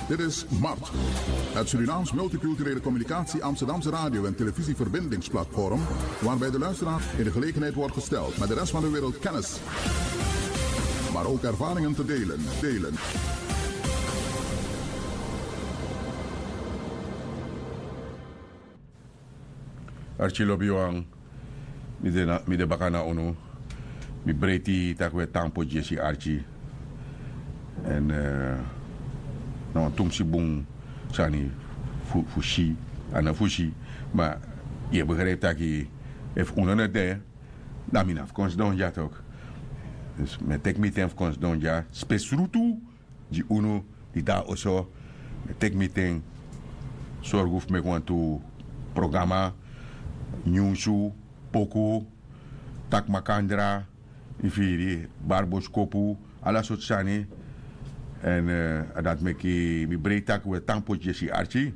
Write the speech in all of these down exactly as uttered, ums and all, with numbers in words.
Dit is Mart, het Surinaams multiculturele communicatie Amsterdamse radio- en televisieverbindingsplatform, waarbij de luisteraar in de gelegenheid wordt gesteld met de rest van de wereld kennis, maar ook ervaringen te delen. delen. Arki lobiwan, mi de na- mi de baka na unu. Mi breiti tak' un e tan poti yesi arki. Èn na wan tumsi bun sani fu- fu si, a no fu si. Ma yu e begrijpi tak' efu unu no de, dan mi no abi fu kon sidon dya tok. Dus mi e teki mi ten fu kon sidon dya spesrutu gi unu di de na oso. Mi e teki mi ten sorgu fu meki wantu programa, nyunsu, poku, taki makandra, yu firi, bari boskopu, ala sortu sani. Èn a dati meki mi breiti tak' un e tan poti yesi arki.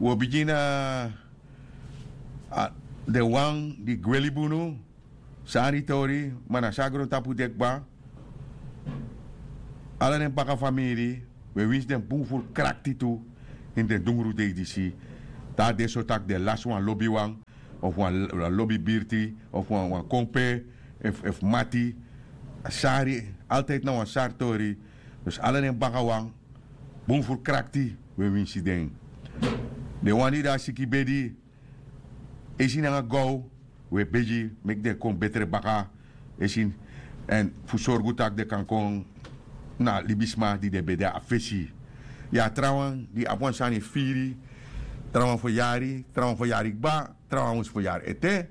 Un o bigin na den wan di gwe libi unu. Sari tori, ma na so a grontapu de kba. Ala den baka famiri, un e winsi den bun furu krakti tu ini den dungru dei disi. Te a de so tak' den lasi wan lobiwan, of wan l- wan lobibirti, of wan wan kompe, efu efu mati. A sari, altidi na wan sari tori. Dus ala den bakawan, bun furu krakti, un e winsi den. Den wan di de na siki bedi, esi nanga gow, un e begi meki den kon betre baka. Esi, èn fu sorgu tak' den kan kon na libisma di den ben de na fesi. Ya, trawan di abi wan sani firi, trawan feryari, trawan feryari kba, trawan mus feryari ete.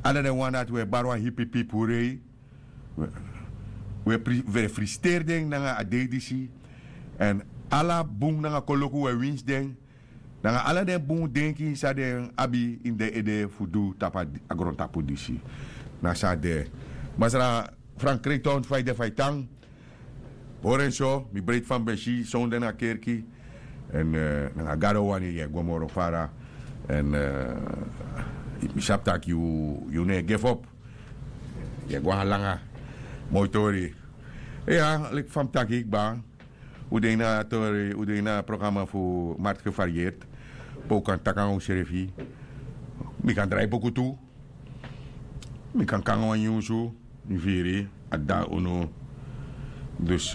Ala den wan dati un e bari wan hipipi purei. Un e pri- un e frisiteri den nanga a dei disi. Èn ala bun nanga koloku un e winsi den, nanga ala den bun denki san den abi ini den ede fu du tapu a grontapu disi. Na so a de. Masra Frank Kreiton, fa yu de, fa yu tan? Hori en so, mi breiti fa mi ben si sonde na kerki. Èn nanga Gado wani yu e go moro fara. Èn mi sabi tak' yu no e gefopu. Yu e go na langa. Moi tori. Iya, leki fa mi taki kba, un de ini a tori, un de ini a programa fu Marti Gevarieerd. Pe un kan taki nanga unsrefi. Mi kan drai poku tu. Mi kan kon nanga wan nyunsu, yu firi, a dda unu. Dus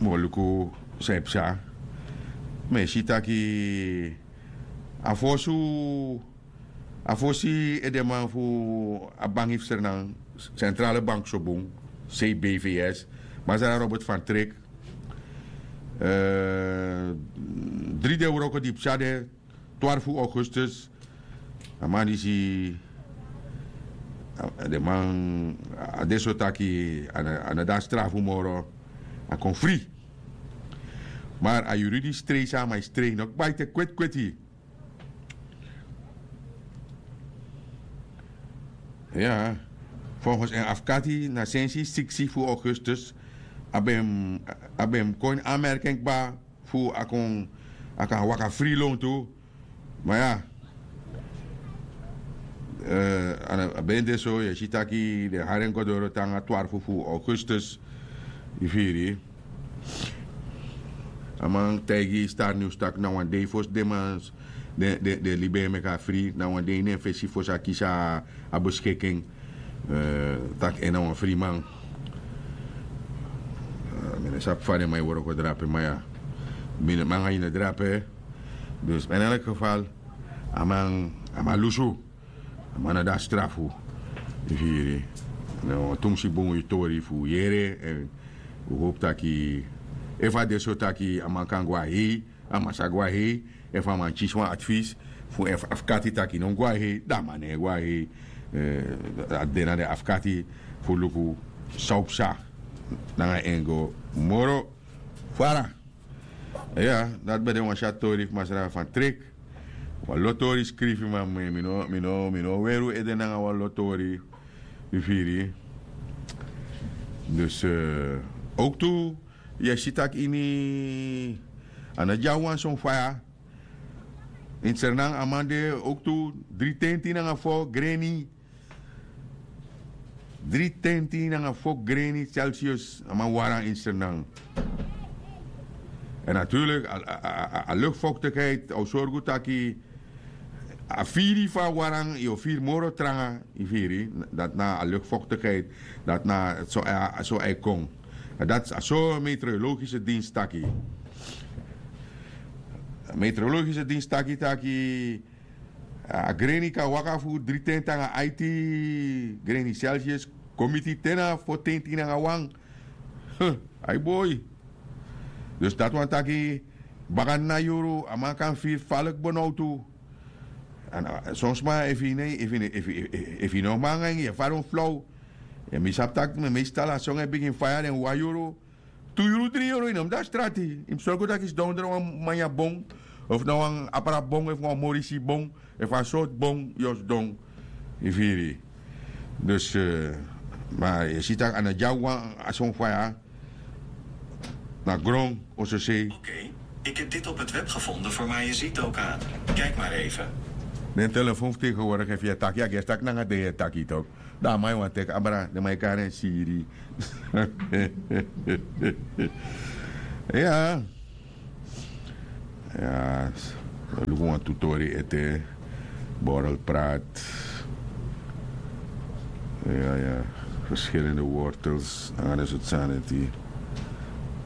mi o luku san e psa. Mi e si taki a fosi, a fosi edeman fu a banki fu Sranan, Centrale Bank so bun, C B V S, Masra Robert van Trik. Dri den wroko di psa de, twarfu augustus. A man disi, den man, a de so taki a no de na strafu moro, a kon fri. Mar a yuru di strei san a man e strei no kba ete kweti kweti. Ya, folgens en afkati na sensi siksi fu augustus a ben mus kon ini anmerking kba fu a kon, a kan waka fri lontu. Ma ya, a ben de so yu e si taki den hari en go doro te nanga twarfu fu augustus. Yu firi? A man taigi Star News taki na wan dei fosi den man, den libi en meki a fri, na wan dei ini en fesi fosi a kisi a beskikin. Tak' en na wan friman. Mi no sabi fa den man e wroko drape, ma ya, mi no man nanga yu no drape. Dus ma ini elk geval, a man, a man lusu. A man no de na strafu. Yu firi? Na wan tumsi bun yu tori fu yere. Èn wi hopu taki efu a de so taki a man kan go na hei, a man sa go na hei. Efu a man kisi wan advis fu en afkati taki no mus go na hei, dan a man no e go na hei. A de na den afkati fu luku san o psa nanga en go moro fara. Ya, dati ben de wan syatu tori fu masra Van Trek. Wan lo tori skrifi, ma mi no, mi no, mi no weri un ede nanga wan lo tori. Yu firi? Dus owktu yu e si taki ini a no dyawan son faya. Ini Sranan a man de owktu dri tenti nanga fo greni. dri tenti nanga fo greni celsius a man waran insternan. En natuurlik a lukfoktikheid a o sorgu taki a firi fu a waran yu o firi moro tranga. Yu firi dati na a lukfoktikheid. Dati na so a e kon. Dati a so meteorologise dins taki. Meteorologise dins taki taki a greni kan waka fu dri tenti nanga aiti greni celsius, kon miti te na fo tenti nanga wan. Ai boi. Dus dati wani taki baka na yuru a man kan firi faliki bonowtu. Son sma efu yu no man nanga en yu e fari wan flow. Mi sabi tak' mi meestal a son e bigin faya den wan yuru, tu yuru dri yuru yu no mus de na strati. Yu mus sorgu tak' yu sidon dra wan manya bon, of na wan apra bon efu wan morisi bon, efu a sortu bon yu o sidon. Yu firi? Dus ma yu e si tak' a no dyawan a son faya na gron o sosei. Oké, ik heb dit op het web gevonden voor Majesito Kaat. Kijk maar even. Den telefon fu tegenwoordig efu yu e taki a gesi tak' nanga den yu e taki tok'. Dan a man yu wani teki abra den man e kari en siri. Ya. Ya. Luku wan tu tori ete. Borrel prat. Ya ya. Verschillende wortels nanga den sortu sani eti.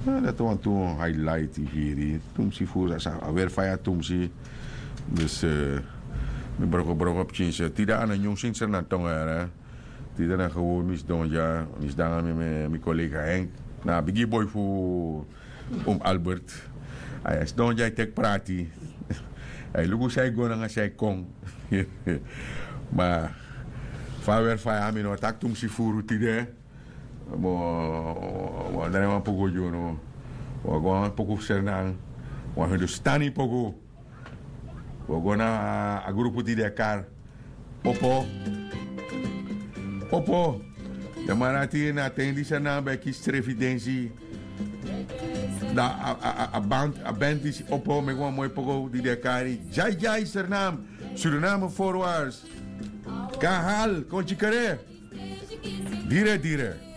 Dati wantu highlight yu firi. Tumsi furu a weri faya tumsi. Dus mi broko broko pikinsi tide a no nyun sinsi na tongo yara. Tide na gewon mi sidon dya mi sidon nanga mi kollega henk na a bigi boi fu um albert. A e sidon dya e teki prati. A e luku san e go nanga san e kon. Ma fa a weri faya mi no taki tumsi furu tide. Mo mo drai wan poku gi unu. Wan go wan poku fu sernan. Wan hindustani poku. Wi o go na a grupu di de kari opo. Opo. Den man dati na a ten disi a nan ben e kisi srefi densi. Dan a band disi opo meki wan moi pokow di den e kari dyaidyaisernam. Suriname forwards. Kahal kon tyikere. Dire dire.